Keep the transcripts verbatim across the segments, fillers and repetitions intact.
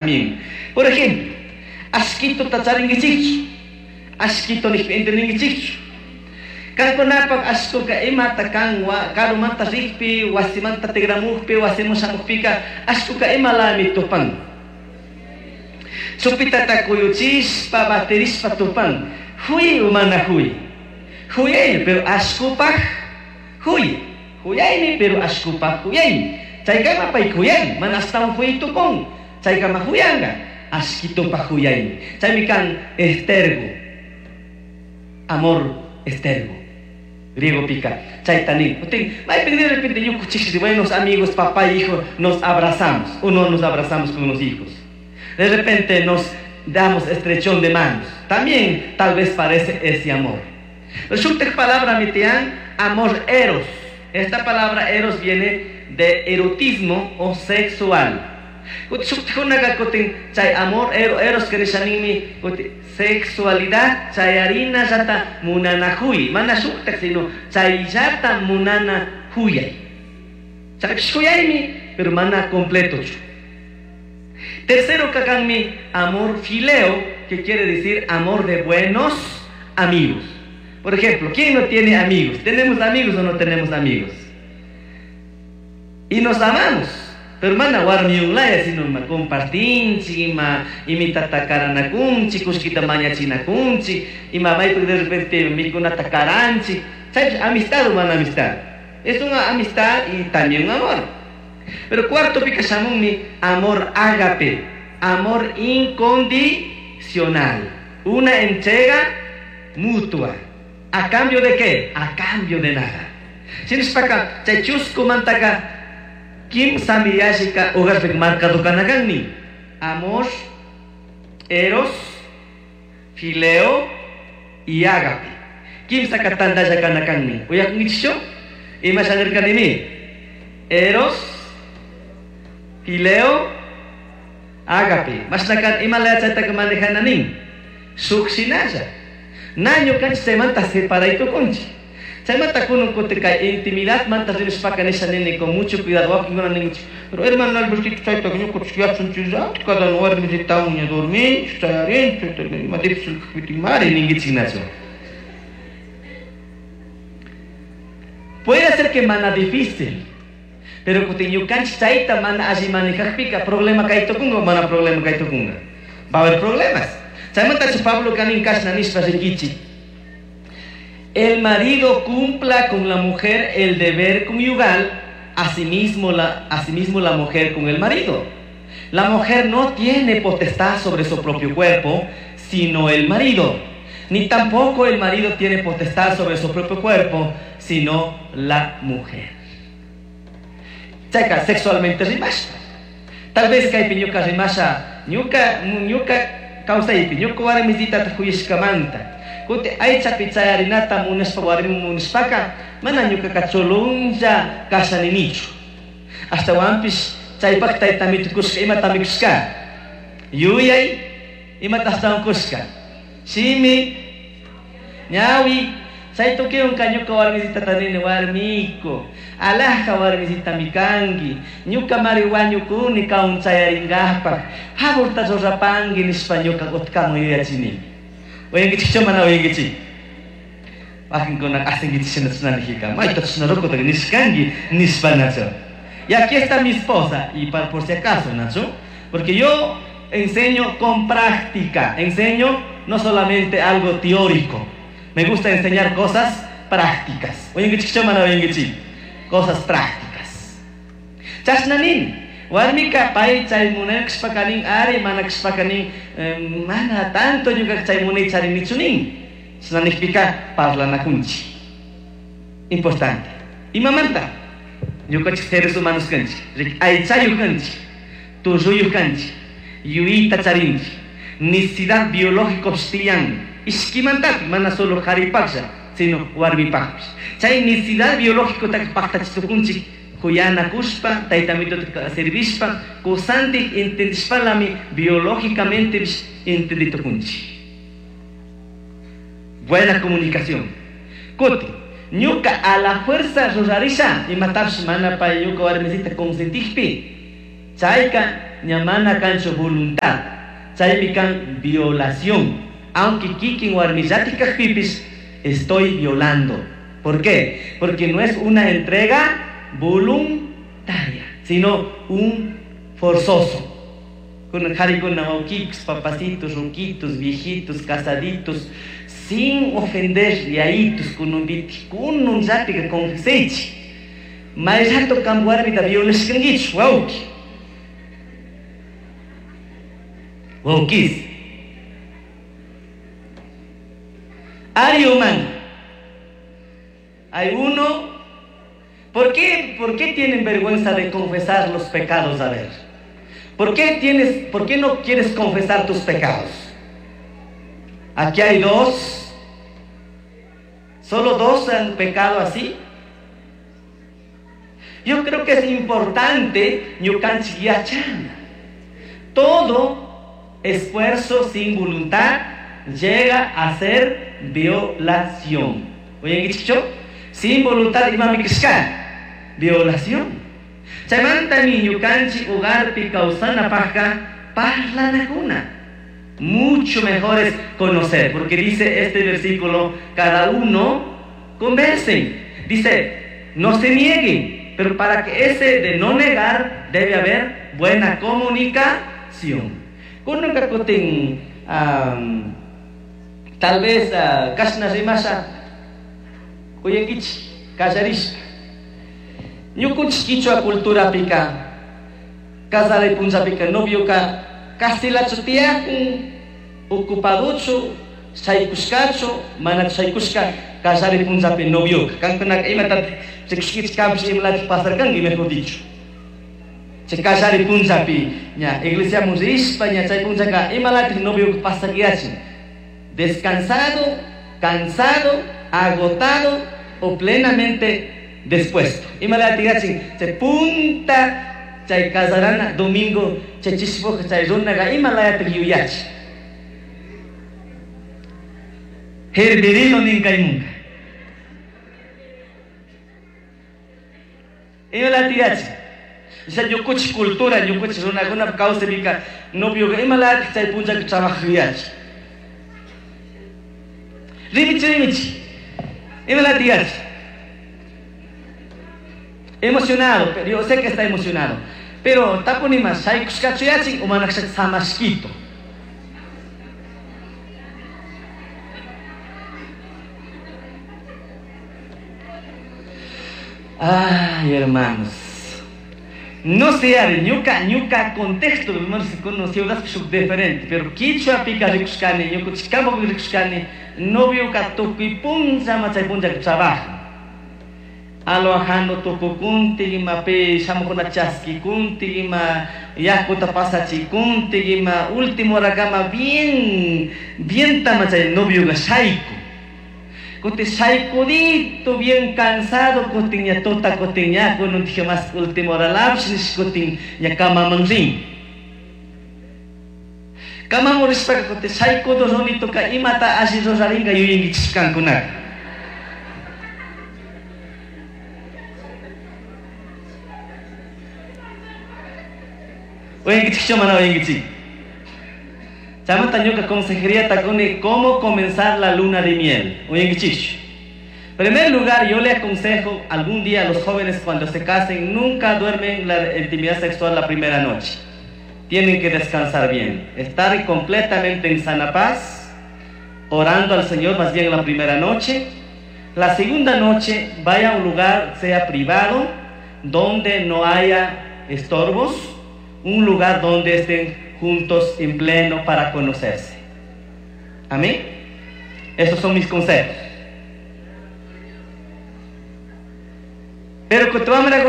También. Por ejemplo, ashkituta charinkichikchu, ashkito nishpa entendinkichikchu. Kankunapaq ashkuka imata kan karumanta rikpi, wasimanta tigramukpi, wasiman shamukpika, ashkuka imalami tupan. Chupitata kuyuchishpa, batirishpa tupan. Huy o mana huy. Huyaymi, pero ashkupaq huy. Huyaymi, pero ashkupaq huyaymi. Chaykama pay huyan, mana ashtawan huy tukun. Chaykama huyanqa, ashkitupaq huyaymi. Chaymi kan estergo. Amor estergo. Griego pica. Chayta nin. Maypi de repente ñukanchik buenos amigos, papá y hijo, nos abrazamos. O no nos abrazamos con los hijos. De repente nos damos estrechón de manos. También tal vez parece ese amor. Shuktaj palabra mitian, amor eros. Esta palabra eros viene de erotismo o sexual. Shuktajkunaka kutin chay amor eros que nishanimi sexualidad chayarina llata munanajuy. Mana shuktaj sino chay llata munana huyay. Chaypish huyaymi, pero mana completo. Tercero kakanmi amor fileo, que quiere decir amor de buenos amigos. Por ejemplo, ¿quién no tiene amigos? ¿Tenemos amigos o no tenemos amigos? Y nos amamos. Pero mana warmiyunlaya sino ma compartinchik, ima imitata karanakunchik, kushkita mañachinakunchik, ima maypi de repente mikunata karanchik. ¿Sabes? Amistad o mana amistad. Es una amistad y también un amor. Pero cuarto pika shamunmi amor ágape, amor incondicional, una entrega mutua. ¿A cambio de qué? A cambio de nada. Shinashpaka chay chuskumantaka kimsami yallika hogarpika marcado kanakanmi. Amor, eros, fileo y ágape. Kimsaka tantalla kanakanmi. Uyakunkichikchu? Ima shanirkanimi? Eros, fileo, ágape. Mashnakan ima layachaytaka manejananin. Shuk shinalla. Na ñukanchik chaymanta separaytukunchik. Chaymanta kunan kutin kay intimidad manta rimashpaka nisha nini con mucho cuidado wakinkuna ninchik. Pero hermano Albertito chayta ñukanchik yachanchik cada warmisita ña dorminchik chayarinchik ima difícil kajpika mari ninkichik nachu. Puede ser que mana difícil, pero kutin ñukanchik chayta mana alli manejajpika problema kaytukunga o mana problema kaytukunga. Va a haber problemas. Chaymanta Pablo kanin kashna nishpa rikichik. El marido cumpla con la mujer el deber conyugal, asimismo la, asimismo la mujer con el marido. La mujer no tiene potestad sobre su propio cuerpo, sino el marido. Ni tampoco el marido tiene potestad sobre su propio cuerpo, sino la mujer. Chayka, sexualmente rimashpa. Tal vez kaypi ñuka rimasha, ñuka, ñuka kawsaypi, ñuka warmisitata huyashkamanta. Kuti aychapi chayarinata munashpa warmi munashpaka, mana ñukaka chulunlla kashaninichu. Ashtawanpish chaypak taytami tukushka, imatami kushka? Yuyay, imata ashtawan kushka? Shimi, ñawi, chay tukuywanka ñuka warmisitata nini, warmiku, alhaja warmisitami kanki, ñuka mari wañukuni kawan chayarinkapak, favorta rurapanki nishpa ñuka utkaman yuyachinimi. Uyankichikchu mana uyankichik? Wakinkuna asinkichik shina chashnanijika, mayta chashna rukutaka nishkanki nishpa nachu. Y aquí está mi esposa, y para, por si acaso, Nacho, porque yo enseño con práctica, enseño no solamente algo teórico, me gusta enseñar cosas prácticas. Uyankichikchu mana uyankichik? Cosas prácticas. Chashnanin, warmika pay chay munakshpaka nin, ari manakshpaka nin, eh, mana tanto ñuka chay munay charinichu nin. Chashnanijpika parlanakunchik. Importante. Imamanta? Ñukanchik seres humanos kanchik, aychayuq kanchik, tulluyuq kanchik, yuyayta charinchik, necesidad biológico tiyan, ishkimantapi, mana solo qaripaqlla, sino warmipaqpish. Chay necesidad biológico paqtachitukunchik, huyanakushpa, taytamituta servishpa, kusantik entendishpalami biológicamente entenditukunchik. Buena comunicación. Kuti, ñuka a la fuerza rurarisha, imatapish mana pay ñuka warmisita consentikpi, chayka ña mana kanchu voluntad. Chaymi kan violación. Aunque kikin warmillati kajpipis, estoy violando. ¿Por qué? Porque no es una entrega voluntaria, sino un forzoso. Con jarikuna waukikus, papacitos, ruquitos, viejitos, casaditos, sin ofender yaitos, con un biti, con un yati confesechi. Mayrato kan warmita violashkankichu, wauki. Waukis. Ariuman. Hay uno. ¿Por qué, por qué tienen vergüenza de confesar los pecados? A ver. ¿Por qué, tienes, ¿Por qué no quieres confesar tus pecados? Aquí hay dos. Solo dos han pecado así. Yo creo que es importante ñukanchik yachana. Todo esfuerzo sin voluntad llega a ser violación. Oye, ¿qué Sin voluntad imami kishka. Violación. Chaymantami ñukanchik hogarpi kawsanapajka parlanakuna. Mucho mejor es conocer, porque dice este versículo, cada uno conversen. Dice, no se nieguen, pero para que ese de no negar debe haber buena comunicación. Kununka kutin, um, tal vez uh, kashna rimasha uyankichik kallarishpa. Ñukunchik kichwa culturapika kasaray punllapika novioka kasilachu tiyakun ocupaduchu shaykushkachu manachu shaykushka kallari punllapi novioka kankunaka imatati rikushkichik kanpish imalati pasarkanki mejor dicho. Chay kallari punllapi ña iglesiaman rishpa ña chay punllaka imalati novioka pasakiyachin. Descansado, cansado, agotado o plenamente dispuesto. Imalati yachin chay punta chay kasarana domingo chay chishpuka chay runaga imalayati yuyachi. Hervirino ninkaymunka. Imalati yachin. Chay ñukuchik cultura, ñukuchik runakuna kawsapika novioka imalati chay punllaka trabajayachi. Rimichi, rimichi. Imalati yachi. Emocionado, pero yo sé que está emocionado. Pero tapunima shaykushkachu yachin o manakshak samashkito. Ay, hermanos. No sé, ñuka, ñuka contexto, hermanos, con ciudad diferente, pero kichwa pika rikushkani, ñuka campo rikushkani, novioka tukuy punlla machay punlla trabaja. Alojando tukukunti ima pe shamukuna chaskikunti ima yakuta pasachikunti ima último hora kama bien bien tamachay novioka shayku. Kuti shaykudito bien cansado kutin ña tota kutin ña kunun dije más último hora lapshis kutin ña kamaman rin. Kamaman rishpaka kuti shaykudo runitoka imata alli rurarinka yuyinkichik kankunaka. Oyenkichik mana oyenkichik. Chaymanta ñuka consejería takuni cómo comenzar la luna de miel. Oyenkichik. En primer lugar, yo le aconsejo algún día a los jóvenes cuando se casen, nunca duermen la intimidad sexual la primera noche. Tienen que descansar bien, estar completamente en sana paz, orando al Señor más bien la primera noche. La segunda noche, vaya a un lugar, sea privado, donde no haya estorbos, un lugar donde estén juntos en pleno para conocerse. Amén. Esos son mis consejos. Pero kutuamra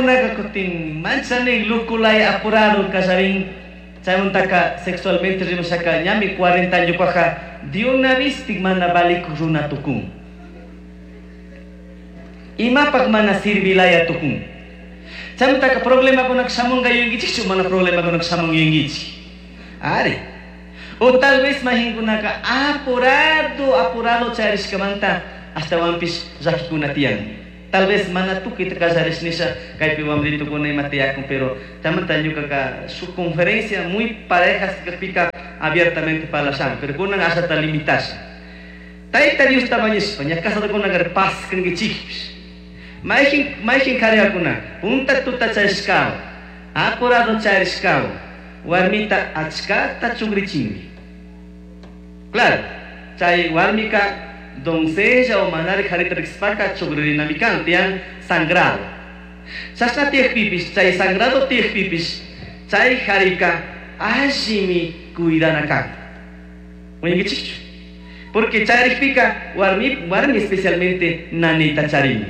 manchani lukulay apurado kasarin chayuntaka sexualmente rimashaka ñami cuarenta años paja de una vez mana balik runa tukun. Imapak mana sirvilaya tukun. Chayuntaka problema kunak shamunga yungichik mana problema kunak shamunga yungichik. Ari. O tal vez mahinkunaka apurado apurado charishkamanta hasta wampis llakikuna tiyan. Tal vez mana tukuyta kallarish nisha kaypi wamritukuna ima tiyakun, pero chaymanta ñukaka su conferencia muy parejas kajpika abiertamente parlashan, pero kunan ashata limitasha. Tayta Diosta mañashpa ña casadokunaka paz kankichikpish. Mayjin mayjin kariyakuna punta tuta charishkawan, apurado charishkawan, warmita achkata chugrichinmi. Claro, chay warmika doncella o manari harita riqsipaka chugririnami kan, tiyan sangrado. Chashna tiyakpipish, chay sangrado tiyakpipish, chay harika allimi cuidana kan. Uyankichikchu? Porque charikpika warmi, warmi especialmente nanita charini.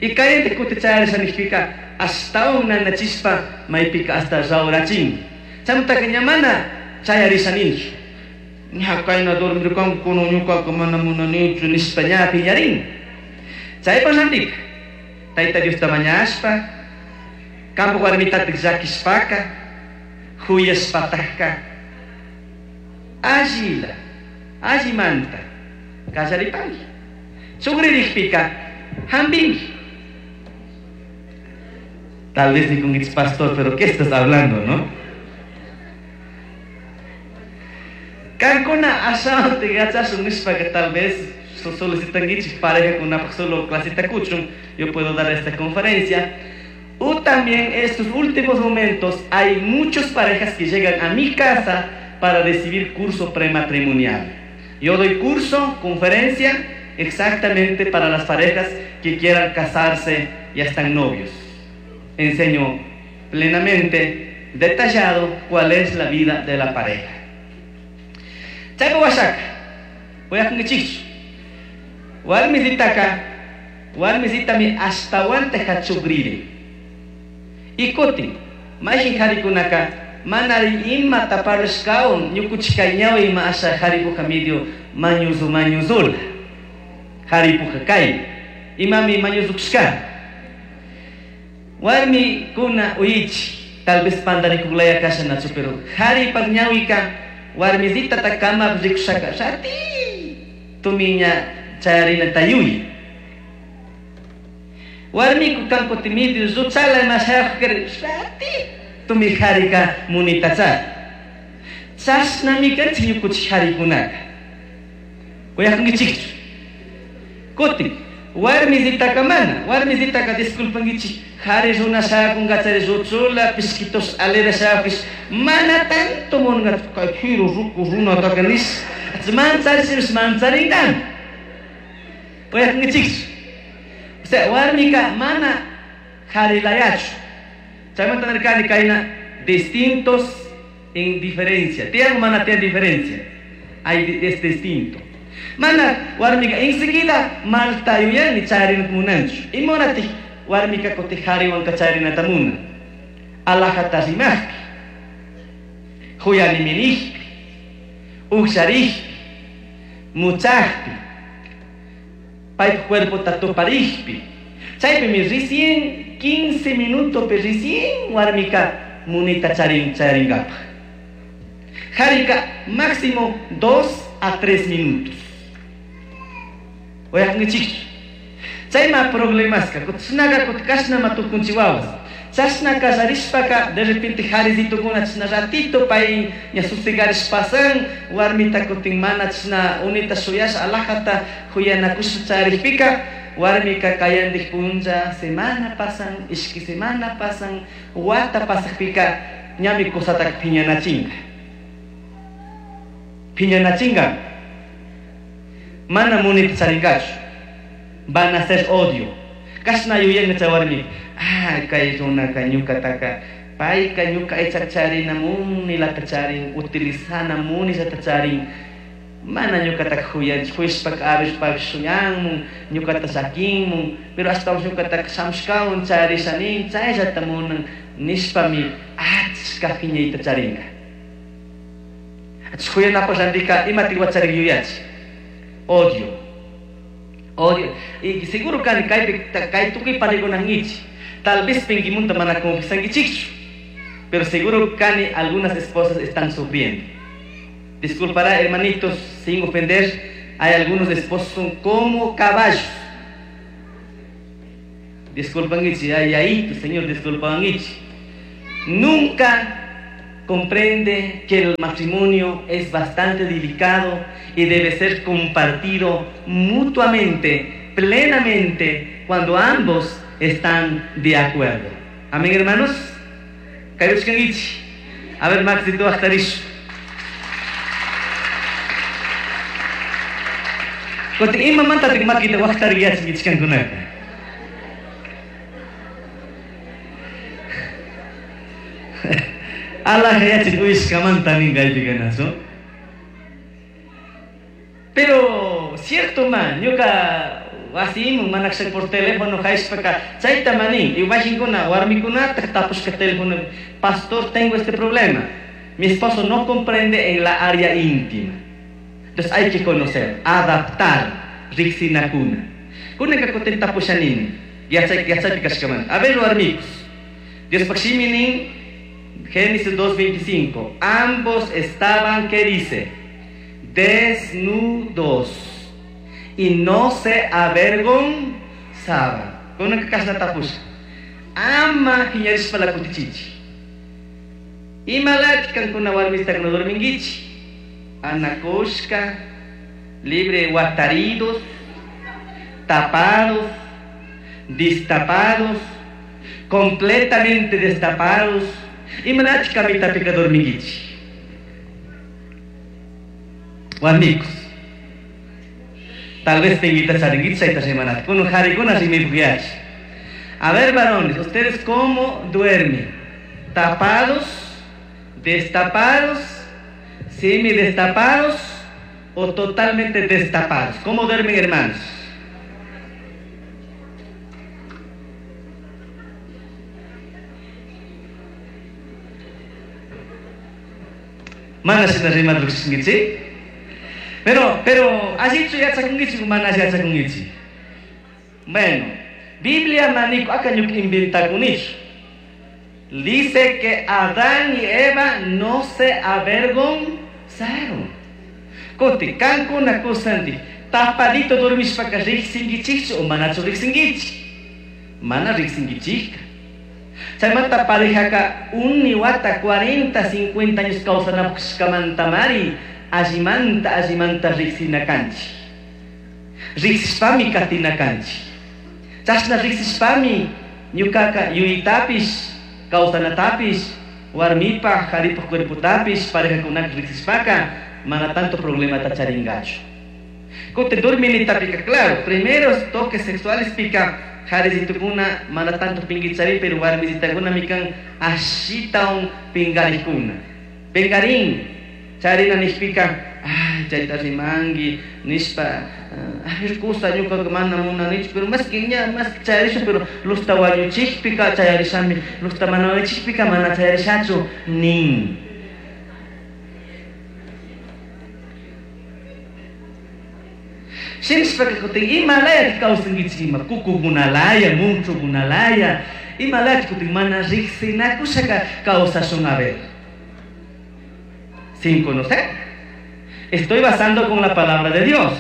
Y kayante kuti chayarisha nijpika ashtawan nanachishpa maypika hasta rawrachin. Chaymantaka ña mana chayarisha ninchu. Ña kayna dormirkanku kunan ñuqaqa mana munanichu nishpa ña piñarin. Chaypa rantika Tayta Diosta mañashpa, kampak warmitatik llakishpaka, huyashpatakka, allila, allimanta kallaripanki. Chugririkpika hampinki. Tal vez nikunkichik pastor, pero ¿qué estás hablando, no? Kankuna ashawante yachashun nishpaka tal vez solicitankichik parejakunapaq solo clasita kuchun, yo puedo dar esta conferencia. O también en estos últimos momentos hay muchas parejas que llegan a mi casa para recibir curso prematrimonial. Yo doy curso, conferencia, exactamente para las parejas que quieran casarse y ya están novios. Enseño plenamente, detallado, cuál es la vida de la pareja. Chaypa washaka, uyakunkichikchu. Warmisitaka, warmisitami ashtawanta hachugriri. Y kutin, mayjin harikunaka, manari imata parlashkawan, ñukuchik ñawi ima asha haripuja medio mañuzu mañuzula. Haripuja kay, imami mañuzukushka. Warmi kuna uyichi, tal vez pandarikuglaya kasha nachu, pero haripak ñawika, warmisita takama rikushaka, rati tumiña chayarina tayuy. Warmiku kanku timidio ruchala imashayakukari, rati tumi harika munitacha. Chashnami kanchik ñukuchik harikunaka. Uyakunkichikchu. Kutin, warmisitaka mana, warmisitaka disculpankichik, hari runa shayakunkachari ruchula, pishkitos alera shayakush, mana tanto munankachu, kay jiru ruku runataka nish, mancharishipish mancharinkan. Uyakunkichikchu. O sea, warmika mana harilayachu. Chaymanta nirkani kayna distintos en diferencia. Tiyan mana tiyan diferencia. Hay es distinto. Mana warmika enseguida malta yuyani chayarinata munanchu. Imanati warmika kuti hariwanka chayarinata munan. Alajata rimajpi, huyaniminijpi, uksharijpi, muchajpi, paypa cuerpota tuparijpi. Chaypimi recién quince minutos pe recién warmika munita charin chayarinkapaj. Harika máximo dos a tres minutos. Uyakunkichikchu. Chayma problemaska, kutsnaga kutkashnama tukunchiwawas. Chashna kasarishpaka de repente harisitukuna chashna ratito pay ña susigarish pasan, warmita kutin mana chashna unita shuyasha alajata huyanakusha charikpika, warmika kayandik punlla semana pasan, ishki semana pasan, wata pasakpika ñami kusataka piñanachinga. Piñanachinga. Mana munita charinkachu. Van a ser odio. Kashna yuyanka chay warmi. Ah, kay runaka ñukataka payka ñuka aychata charina munilata charin, utilizana munillata charin. Mana ñukataka huyanchu, huyashpaka abishpapish shuyanmun, ñukata llakinmun, pero ashtawan ñukataka shamushkawan charisha nin, chayllata munan nishpami achka phiñayta charinka. Achka huyanapaq rantika imatik wacharik yuyachi. Odio. Odio. Y seguro kani kaypi kay tukuy parikunankichik. Tal vez pinkimunta mana confesankichikchu, pero seguro kani algunas esposas están sufriendo. Disculpará, hermanitos, sin ofender, hay algunos esposos son como caballos. Disculpangichi, ay, ay, Señor, disculpangichi. Nunca comprende que el matrimonio es bastante delicado y debe ser compartido mutuamente, plenamente, cuando ambos están de acuerdo. Amén, hermanos. A ver, Max, tú vas. Kuti imamanta makita waqtariyachinkichkankunaka. Allah yachin uyishkamanta nin kaypikanasu. Pero cierto man, ñuka wasimun manakshak por teléfono hayshpaka chayta manin, iwajinkuna warmikunata tapushka teléfono, pastor, tengo este problema. Mi esposo no comprende en la área íntima. Entonces hay que conocer, adaptar, riksinakuna. Kunanka kutin tapushanini, yachay yachaypi kashkamanta. A ver, warmikus. Dios pakshiminin, Génesis dos veinticinco. Ambos estaban, ¿qué dice? Desnudos y no se avergonzaban. Kunanka kashna tapusha. Ama hiñarishpa la kutichichi. Imalati kankuna warmista no dormingichi. Anakoshka, libre guataridos, tapados, destapados, completamente destapados. Y manachi kamita pika dormingichi. Warmicos. Tal vez te invitas a ringuichi chayta rimanata. Kuno harikuna rimipukyachi. A ver, varones, ¿ustedes cómo duermen? ¿Tapados? ¿Destapados? ¿Semi-destapados o totalmente destapados? ¿Cómo duermen, hermanos? Mana shina rimata rukshinkichi? Pero, pero, allichu yachakunkichi, mana yachakunkichi. Bueno, Biblia maniko aka ñuka inventakunichu. Dice que Adán y Eva no se avergonzaron. Kuti, kankuna kusanti, tapadito dormishpaka riksinkichikchu o manachu riksinkichik? Mana riksinkichikka. Chaymanta parejaka uni wata cuarenta, cincuenta años kawsanapushkamantamari allimanta allimanta riksinakanchik. Riksishpami katinakanchik. Chashna riksishpami ñukaka yuyitapish kawsanatapish warmipaj qaripaj cuerpotapish parejakunaka riksishpaka mana tanto problemata charingachu. Kuti dorminitapika, claro, primeros toques sexuales pika jarisitukuna mana tanto pingichari, pero warmisitakuna mikan ashitaun pingarikuna. Pingarin, charina nishpika, ay, chayta rimangi, nishpa, ay, kusa ñuka mana munanichu, pero más que ña, más que chayarisha, pero lusta wañuchikpika chayarishami, lusta mana wañuchikpika mana chayarishachu, nin. Shinshpaka kutin imalaya kawsankichik ima kukukunalaya, munchukunalaya, imalaya kutin mana riksinakushaka kawsashun. A ver, sin conocer. Estoy basando con la palabra de Dios.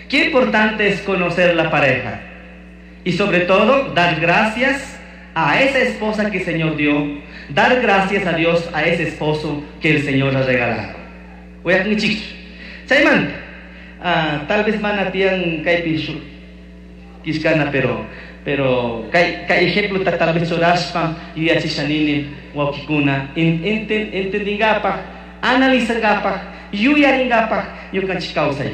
Qué importante es conocer la pareja. Y sobre todo, dar gracias a esa esposa que el Señor dio. Dar gracias a Dios a ese esposo que el Señor ha regalado. Voy a chaymanta. Ah, tal vez mana tiyan kaypi shuk kishkana, pero pero kay kay ejemplo ta tal vez churashpa yuyachishanini wawkikuna entendingapaj, analizangapaj, yuyaringapaj ñukanchik kawsay.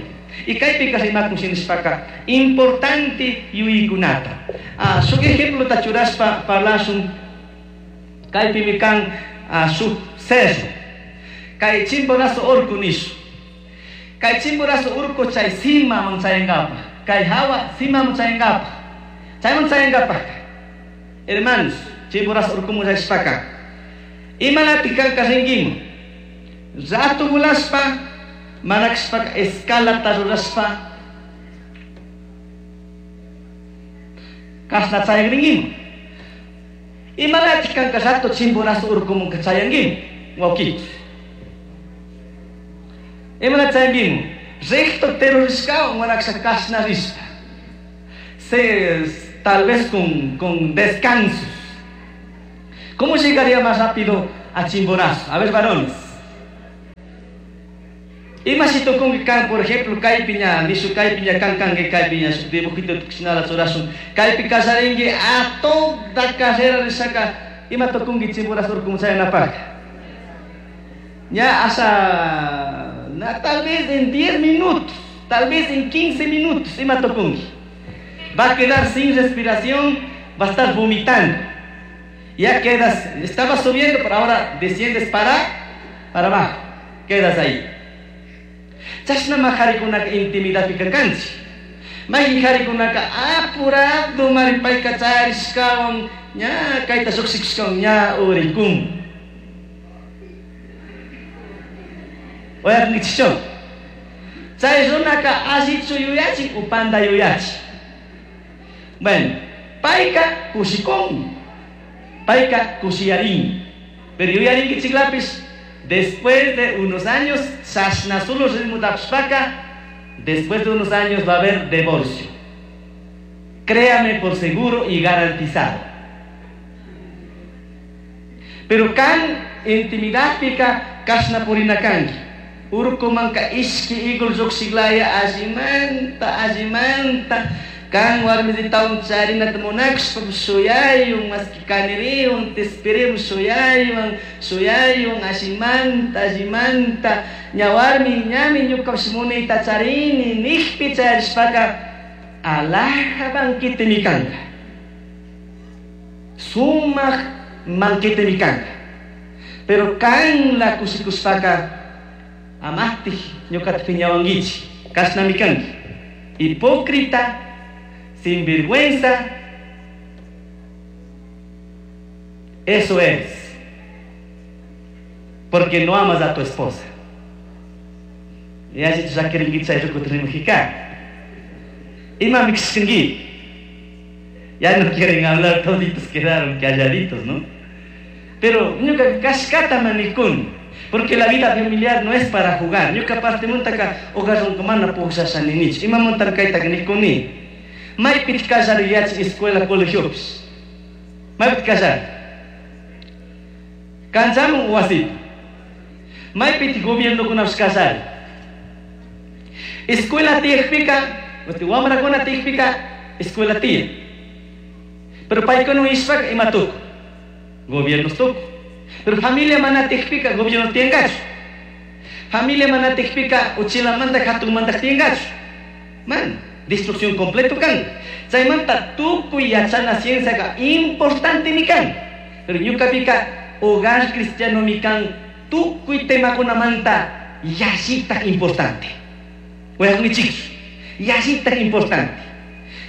Y kaypika rimakun shinishpaka importante yuyaykunata. Ah, shuk ejemplo ta churashpa parlashun kaypimi kan ah, shuk cerro. Kay Chimborazo urku nishu. Kay Chimborazo urku chay simaman chayankapaj. Kay hawa simaman chayankapaj. Chayman chayankapaj. Hermanos, Chimborazo urkuman chayashpaka. Imalati kanka rinkiman. Rato vulashpa, manakshpaka escalata rurashpa kashna chayagrinkiman. Imalati kanka rato Chimborazo urkuman chayankiman. Wawkikus. Imalati chayankiman. Recto terrorishkawan manaksha kashna rishpa. Se tal vez con, con descansos. ¿Cómo llegaría más rápido a Chimborazo? A ver, varones. Ima si kan, por ejemplo, kaypiña, nishu kaypiña kan kanki kaypiña, shuk dibujito tukushinala churashun, kaypi kallarinki a toda carrera rishaka, ima tukunki Chimborazo urkuman chayanapaq. Ya hasta, na, tal vez en diez minutos, tal vez en quince minutos, ima tukunki. Va a quedar sin respiración, va a estar vomitando. Ya quedas, estabas subiendo, pero ahora desciendes para, para abajo, quedas ahí. Chashnama qharikunaka intimidadpika kanchik. Mayqin qharikunaka apurado maripayka charishkawan ña kayta lluqshikushkawan ña urikun. Uyarinkichikchu? Chay runaka allichu yuyachin u panda yuyachin. Bueno, payka kushikun, payka kushiyarin. Pero yuyarinkichiklapis, después de unos años, chashna solo ritmo tapshpaka, después de unos años va a haber divorcio. Créame por seguro y garantizado. Pero kan intimidad pika kashna purina kanki. Urkumanka ishki igul lluqshiklaya allimanta allimanta kan warmisitawan charinata munakshpa shuyayun maski kaniriyun tispiriyun shuyayun shuyayun allimanta allimanta ña warmi ñami ñukapish munayta charini nijpi charishpaka alhaja banquetemi kanka, sumaq banquetemi kanka. Pero kan la kushikushpaka amastij ñukata piñawankichik kashnami kanki, hipócrita, sinvergüenza. Eso es porque no amas a tu esposa. Ya ya quieren Ya no quieren hablar, toditos quedaron calladitos, ¿no? Pero ñuka kashkata manikun, porque la vida familiar no es para jugar. Ñuka parte muntaka hogarrunkumana pukllashani imamuntan kaytaka nikuni. Maypit kallari yachay escuela colegiopis. Maypit kallari. Kanchamun wasipi. Maypit gobiernokunapish kallari. Escuela tiyakpika, wamrakuna tiyakpika, escuela tiyan. Pero paykuna ishpaka ima tuku. Gobiernos tuku. Pero familia mana tiyakpika, gobierno tiyankachu. Familia mana tiyakpika, uchilamanta hatunmanta tiyankachu. Man. Destrucción completo kan. Chaymanta tukuy yachana cienciaqa importantemi kan. Pero ñuqapika hogar cristianomi kan tukuy temakunamanta yallitaq importante. Uyaqnichikchu, yallitaq importante.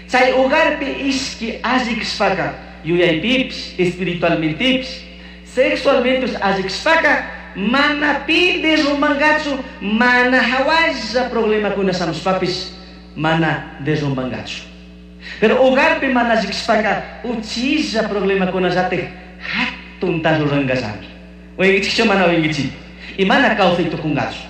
Chay hogarpi ishki alli kashpaka yuyaypipish, espiritualmentepish, sexualmentepish alli kashpaka mana pi derrumbankachu, mana hawalla problemakuna shamushpapish mana derrumbangachu. Pero hogarpi mana llikshpaka uchilla problemakunallatik hatunta ruranqallami. Uyankichikchu mana uyankichik. Y mana kawsay tukunqachu.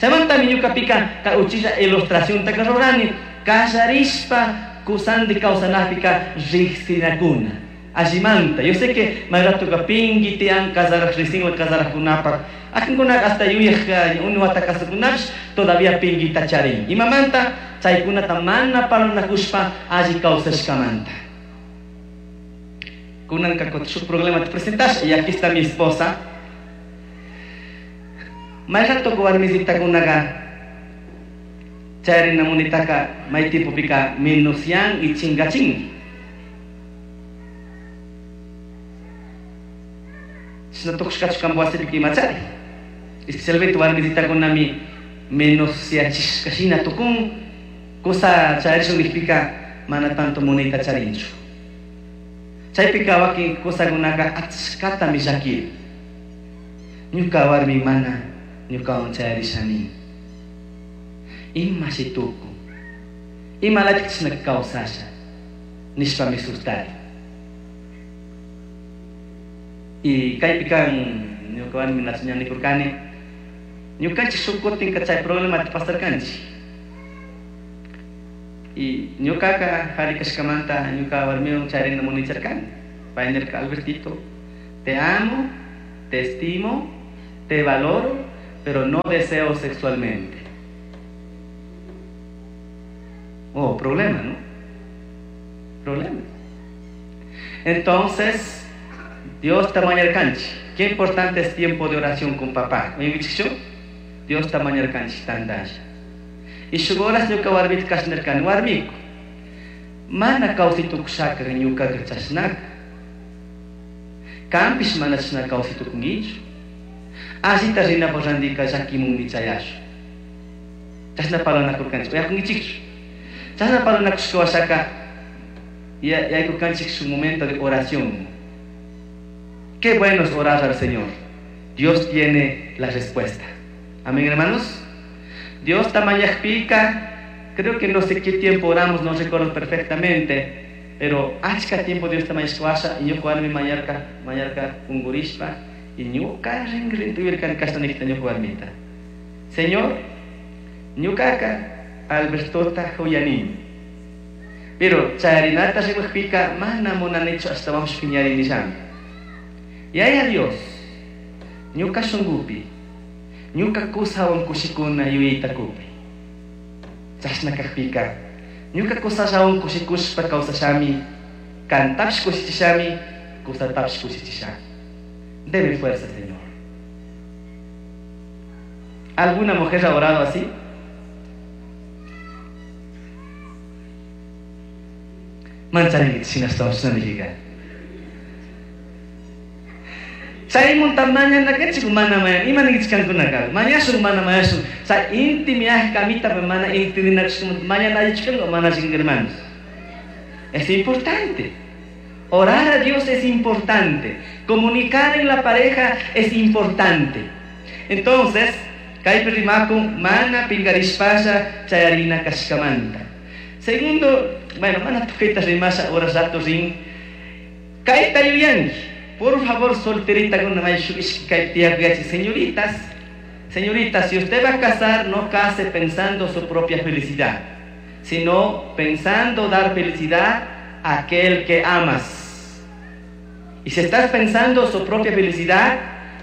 Chaymantami ñuqapika kay uchilla ilustraciontaka rurani kallarishpa kusanti kawsanapika riqsinakuna. Allimanta. Yo sé que may ratuqa pinki tiyan kasaraq riqsinwan kasaraqkunapaq. Akinkunaka hasta yuyaq unu wata kasukunapish todavía pinkita charin. Imamanta chaykunata mana parlanakushpa alli kawsashkamanta. Kunanka shuk problema te presentas y aquí está mi esposa. May rato warmisitakunaqa charina munitaka may tipopika menosyan y chingachin. Chashna tukushkachu kanpa wasipika imachari. Especialmente warmisitakunami menosyachishkashina tukun kusa charishun nijpika mana tanto munayta charinchu. Chaypika wakin kusakunaka achkatami llakiri. Ñuka warmi mana ñukawan chayarishani. Imashi tukun, imalatik chashna kawsasha nishpami sustari. Y kaypika ñuka warmi ña nikurkani ñukanchik shuk kutinka chay problemata pasarkanchik. Y ñuqaqa qhari kashkamanta ñuqa warmiwan chayrina municharkani. Pay nirka, Albertito, te amo, te estimo, te valoro, pero no deseo sexualmente. Oh, problema, ¿no? Problema. Entonces, Dios tamañarkanchi. Qué importante es tiempo de oración con papá. Dios tamañarkanchi tandalla. Y shugoras ñuka warmita kashnirkani warmiku. Mana kawsaytukushaka ñukaqa chashnaka. Kanpish mana chashna kawsaytukunkichu. Allita rinapaq randika llakimunmi chayashun. Chashna parlanakurkanchik. Uyakunkichikchu. Chashna parlanakushka washaka yaykurkanchik su momento de oración. Qué bueno es orar al Señor. Dios tiene la respuesta. Amén, hermanos. Dios tamañajpica, creo que no sé qué tiempo oramos, no recuerdo perfectamente, pero achka tiempo Dios tamañashwasha y ñuka warmi mañarka, mañarka ungurishpa y ñuka rinrintuirkan kashtanikta ñuka warmita. Señor, ñukaka Albertota huyanini. Pero chayarinata rimajpika mana munanichu hasta vamos piñarinillami. Yaya Dios, ñuka shungupi, ñuka kusawan kushikuna yuyayta kupi. Chashna kajpika, ñuka kusallawan kushikushpa kawsashami, kantapish kushichishami, kusatapish kushichishami. Deme fuerza, Señor. ¿Alguna mujer ha orado así? Mancharinki shinashtawan. Chaymunta mañanakanchik mana mañan, ima ninkichik kankunaka, mañashun mana mañashun, chay inti miaj kamita mana intindinakushkamanta mañana allichikanku mana allichikanku, hermanos. Es importante. Orar a Dios es importante. Comunicar en la pareja es importante. Entonces, kaypi rimakun mana pinkarishpalla chayarina kashkamanta. Segundo, bueno, mana tukuyta rimasha horas rato rin. Kayta yuyanki. Por favor, solterita con una señoritas, señoritas, si usted va a casar, no case pensando su propia felicidad, sino pensando dar felicidad a aquel que amas. Y si estás pensando su propia felicidad,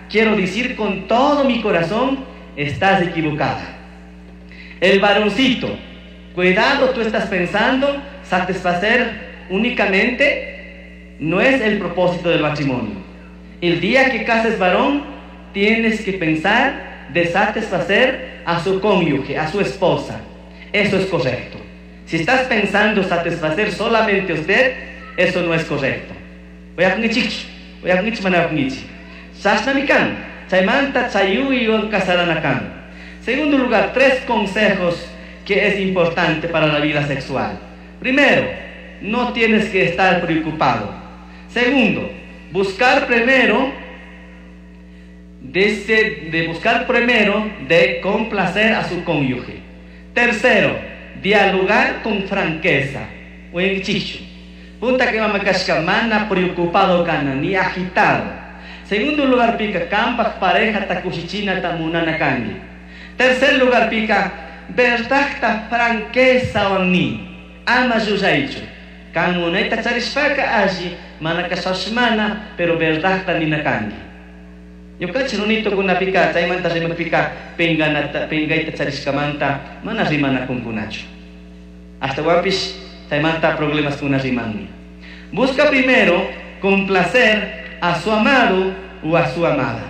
quiero decir con todo mi corazón, estás equivocada. El varoncito, cuidado, tú estás pensando satisfacer únicamente. No es el propósito del matrimonio. El día que cases varón, tienes que pensar de satisfacer a su cónyuge, a su esposa. Eso es correcto. Si estás pensando satisfacer solamente a usted, eso no es correcto. Segundo lugar, tres consejos que es importante para la vida sexual. Primero, no tienes que estar preocupado. Segundo, buscar primero de, de buscar primero de complacer a su cónyuge. Tercero, dialogar con franqueza. Punta que mamakashka mana preocupado kana ni agitado. Segundo lugar pica kampak pareja takushichina tamunana kangi. Tercer lugar pica verdadta franqueza ni ama yuyaychu. Kan munayta charishpaka alli mana kashashmana, pero verdadta ninakangi. Ñukanchik runitukunapika chaymanta rimapika pinganata pingayta charishkamanta mana rimanakunkunachu. Ashtawanpish chaymanta problemas kuna rimanmi. Busca primero complacer a su amado o a su amada.